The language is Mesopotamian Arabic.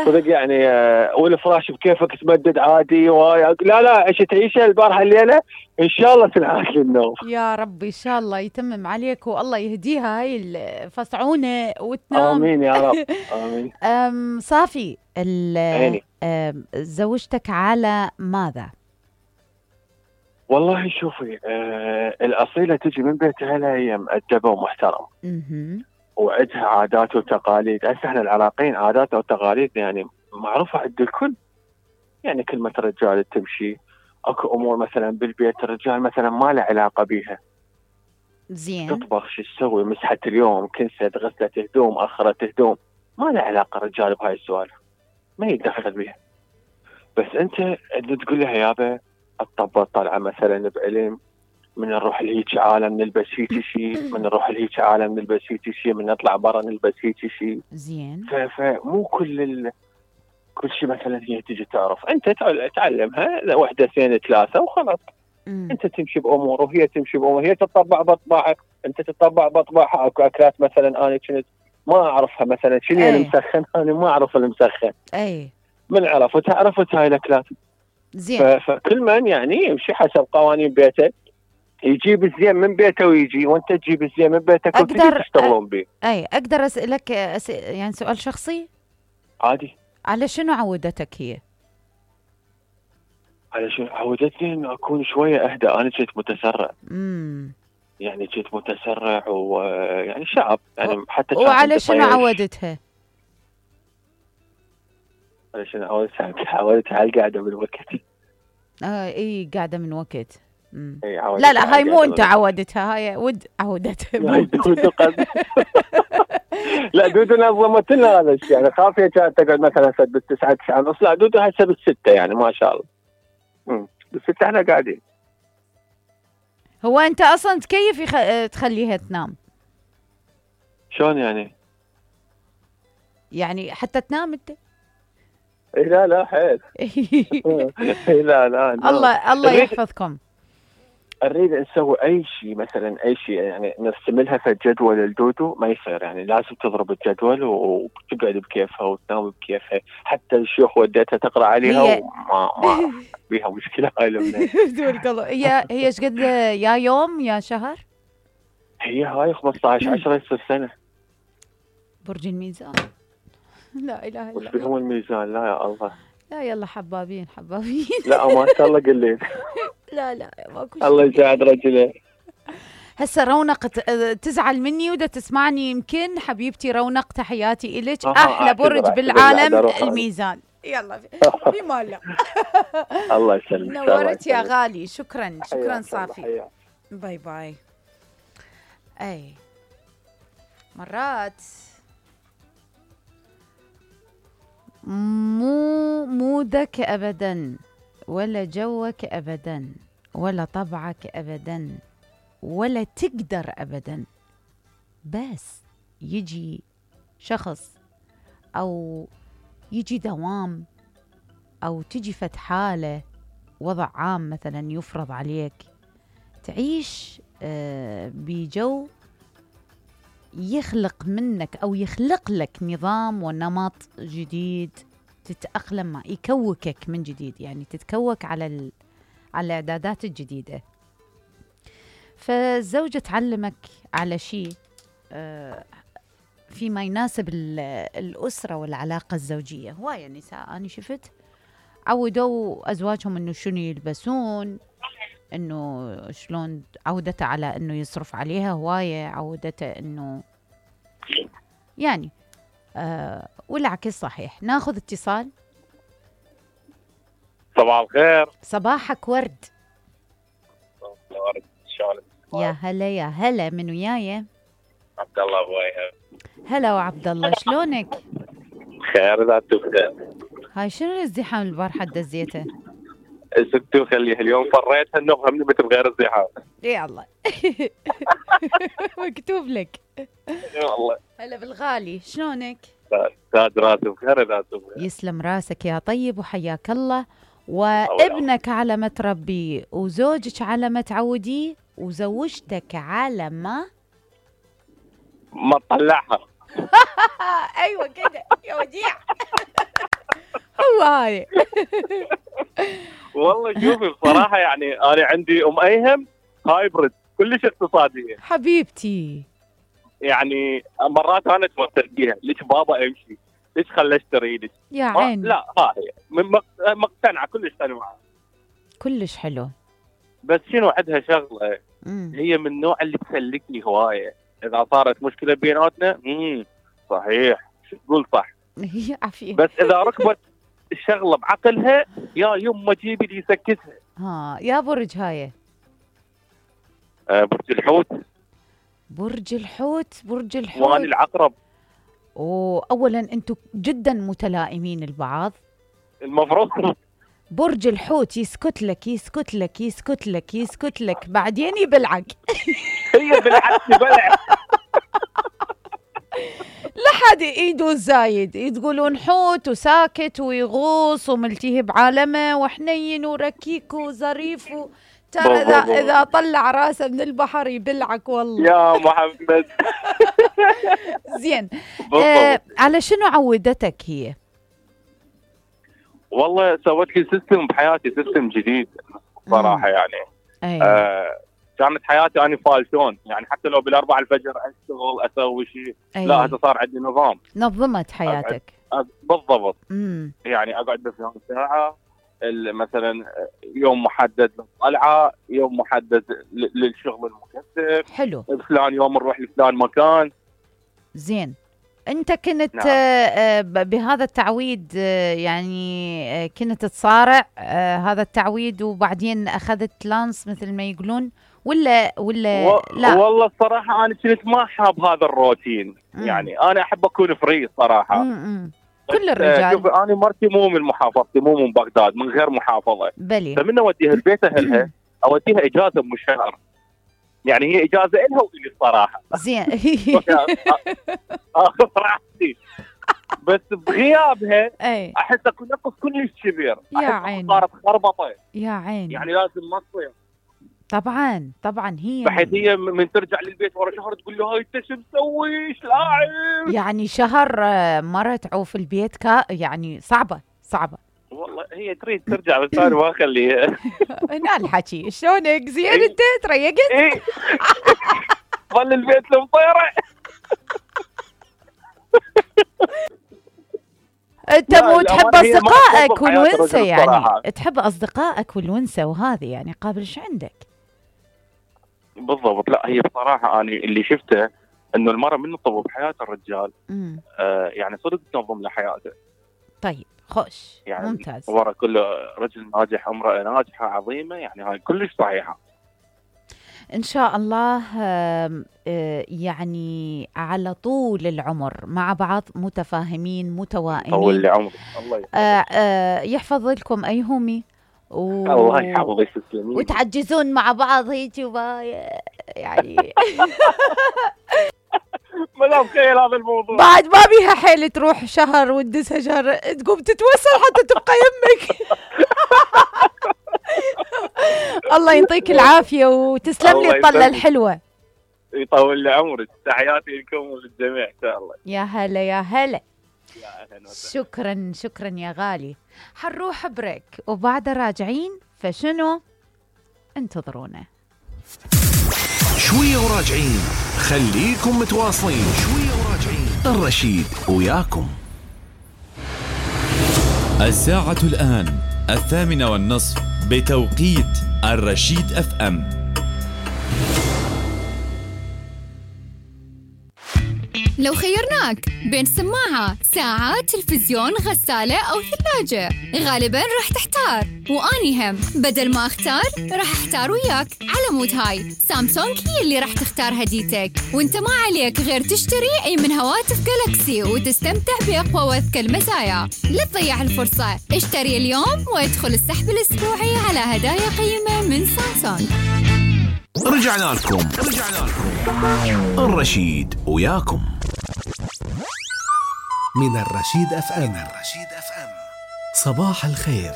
صدق يعني والفراش بكيفك تمدد عادي لا عشت عيشه البارحه الليله ان شاء الله تنعاد للنوم. يا رب ان شاء الله يتمم عليك والله يهديها هاي الفصعونه وتنام. امين يا رب امين. صافي عيني. زوجتك على ماذا؟ والله شوفي الاصيله تجي من بيت اهلها هي مؤدبه ومحترمه. وعندها عادات وتقاليد. هسه احنا العراقيين عاداتنا وتقاليدنا يعني معروفه عند الكل. يعني كلمه الرجال تمشي. اكو امور مثلا بالبيت الرجال مثلا ما له علاقه بيها. زين. تطبخ شو تسوي مسحت اليوم كنست غسلت هدوم اخرت هدوم ما له علاقه الرجال بهاي السوالف. ما يتدخل بيها. بس انت تقول لها يابا الطبه طالعه مثلا بعلم من نروح لهيك عالم نلبس هيك شيء من نروح لهيك عالم نلبس هيك شيء من نطلع برا نلبس هيك شيء. زين. فمو كل شيء مثلا هي تجي تعرف. انت تعلمها واحده اثنين ثلاثه وخلاص. انت تمشي بامور وهي تمشي بامور. هي تطبع بطباعك انت تطبع بطباعها. اكو اكلات مثلا انا كنت ما اعرفها مثلا شنو المسخن انا ما اعرف المسخن. من عرف وتعرفت هاي الاكلات. زين. فكل من يعني يمشي حسب قوانين بيته. يجيب الزين من بيته ويجي وانت تجيب الزين من بيتك وتجي تشتغلون به. اقدر اسالك يعني سؤال شخصي؟ عادي. على شنو عودتك هي؟ على شنو عودتني انه اكون شويه اهدى. انا كنت متسرع. يعني كنت متسرع ويعني شعب يعني حتى. وعلى شنو عودتها؟ على شنو عودتها على القعده بالوقت. اي قاعده من وقت. لا هاي مو انت عودتها هاي ود عودتها. لا دودو نظمت لنا هذا الشيء. يعني خافيه كانت تقعد مثلا بالتسعة 9 ونص. لا دودو هسه بالستة يعني ما شاء الله. بالستة احنا قاعدين. هو انت اصلا كيف تخليها تنام؟ شلون يعني؟ يعني حتى تنام انت؟ لا حيل. لا الله يحفظكم. نريد نسوي اي شيء مثلا اي شيء يعني نرسم لها في الجدول الدودو ما يصير. يعني لازم تضرب الجدول وتقعد بكيفها وتنام بكيفها. حتى الشيوخ وديتها تقرا عليها وما بيها مشكله هاي الامنيه. هي ايش قد يا يوم يا شهر؟ هي هاي 15/10 يصير سنه. برج الميزان. لا اله الا الله. وش بهم الميزان؟ لا يا الله. لا يلا حبابين. لا ما شاء الله قليل. لا ماكو شيء. الله يساعد رجله. هسه رونق تزعل مني ودا تسمعني يمكن. حبيبتي رونق تحياتي إلك. احلى برج بالعالم الميزان. يلا في ماله. الله يسلمك. نورت يا غالي. شكرا صافي. باي باي. اي مرات مو مودك ابدا ولا جوك ابدا ولا طبعك ابدا ولا تقدر ابدا. بس يجي شخص او يجي دوام او تجي فت حاله وضع عام مثلا يفرض عليك تعيش بجو يخلق منك او يخلق لك نظام ونمط جديد تتأقلم معه. يكوكك من جديد. يعني تتكوك على الاعدادات الجديدة. فالزوجة تعلمك على شيء فيما يناسب الأسرة والعلاقة الزوجية. هواية النساء أنا شفت عودوا أزواجهم إنه شنو يلبسون إنه شلون. عودته على إنه يصرف عليها هواية. عودته إنه يعني والعكس صحيح. ناخذ اتصال. صباح الخير. صباحك ورد. ورد شلونك؟ يا هلا من وياي؟ عبد الله ابوي. هلا وعبد الله شلونك؟ خير ذاتو بخير. هاي شنو الازدحام البارحة دزيته؟ سكتوا خليها اليوم فريتها انه همني مثل غير الزحام. يا الله. مكتوب لك. والله. هلا بالغالي شلونك؟ تاج راسي بخير ذاتو بخير. يسلم راسك يا طيب وحياك الله. وابنك على ما تربيه وزوجك على ما تعوديه وزوجتك على ما تطلعها. ايوه كده يا وديع. حلوة هاي. والله شوفي بصراحة يعني أنا عندي أم أيهم هايبرد كلش اقتصادية حبيبتي. يعني مرات أنا أتوتر فيها، ليش بابا أمشي؟ ليش خلى أشتري لك؟ يا عين. لا هاي مقتنعة كلش قنوعة. كلش حلو. بس شنو عندها شغلة، هي من النوع اللي تسلكني هواية. إذا صارت مشكلة بيناتنا صحيح شو تقول صح. هي عافية. بس إذا ركبت الشغلة بعقلها يا يما جيبي لي يسكتها. يا برج هاي. برج الحوت. برج الحوت. برج الحوت. وأنا العقرب. أولا أنتم جدا متلائمين البعض. المفروض. برج الحوت يسكت لك يسكت لك يسكت لك يسكت لك بعدين يبلعك. هي بلعت بلع. لحد ايده زايد تقولون حوت وساكت ويغوص وملتهي بعالمه وحنين وركيك وظريف ترى اذا طلع راسه من البحر يبلعك والله يا محمد. زين. على شنو عودتك هي؟ والله سوت لي سيستم بحياتي، سيستم جديد صراحه يعني. كانت حياتي أنا فالتون يعني، حتى لو بالأربعة الفجر أشتغل أسوي شيء. لا هذا صار عندي نظام. نظمت حياتك. بالضبط. يعني أقعد بفلان ساعة، مثلا يوم محدد للطلعة، يوم محدد للشغل المكثف. حلو. فلان يوم نروح لفلان مكان. زين. أنت كنت بهذا التعويد يعني كنت تصارع هذا التعويد وبعدين أخذت لانس مثل ما يقولون ولا لا؟ والله الصراحة أنا كنت ما حاب هذا الروتين. يعني أنا أحب أكون فري صراحة. كل الرجال. شوف أنا مرتي مو من محافظتي، مو من بغداد، من غير محافظة. بلي. فمن أوديها البيت أهلها أوديها إجازة من الشهر. يعني هي إجازة إلها وإلي الصراحة. زين. آخذ راحتي. بس بغيابها أحس أكون نقص كلش كبير. يا عيني. صارت خربطة. يا عيني. يعني لازم ما تصير. طبعا هي بحيث هي من ترجع للبيت ورا شهر تقول له هاي انت شو مسوي ايش لاعب. يعني شهر مرة تعوف البيت يعني صعبة. والله هي تريد ترجع بس انا ما اخليها. هنا الحكي شلونك زين انت تريقت؟ ايه ظل البيت المطيرة. انت مو تحب اصدقائك والونسة يعني، تحب اصدقائك والونسة وهذه يعني قابل ايش عندك؟ بالضبط. لا هي بصراحة أنا اللي شفته إنه المرأة من تطور بحياة الرجال يعني صدق تنظم لحياته. طيب خوش يعني ممتاز. ورا كل رجل ناجح امرأة ناجحة عظيمة، يعني هاي كلش صحيحة إن شاء الله. يعني على طول العمر مع بعض متفاهمين متوائمين. طول عمرك الله يحفظ لكم أيهمي الله يحفظك تسلمين. وتعجزون مع بعض هيك يعني ما مخيل هذا الموضوع. بعد ما بيها حيل تروح شهر وتدسها شهر تقوم تتوسل حتى تبقى يمك. الله يعطيك العافية وتسلم لي الطلة الحلوة. يطول لي عمرك. تحياتي لكم وللجميع إن شاء الله. يا هلا يا هلا. شكرا يا غالي. حنروح بريك وبعد راجعين فشنو انتظرونا شوية وراجعين. خليكم متواصلين. شوية وراجعين. الرشيد وياكم. الساعة الآن 8:30 بتوقيت الرشيد FM. لو خيرناك بين سماعة، ساعة، تلفزيون، غسالة أو ثلاجة، غالباً راح تحتار. وأني هم بدل ما أختار راح أحتار وياك. على مود هاي سامسونج هي اللي راح تختار هديتك، وانت ما عليك غير تشتري أي من هواتف جالاكسي وتستمتع بأقوى وأذكى المزايا. لا تضيع الفرصة، اشتري اليوم وادخل السحب الأسبوعي على هدايا قيمة من سامسونج. رجعنا لكم. الرشيد وياكم من الرشيد FM. صباح الخير.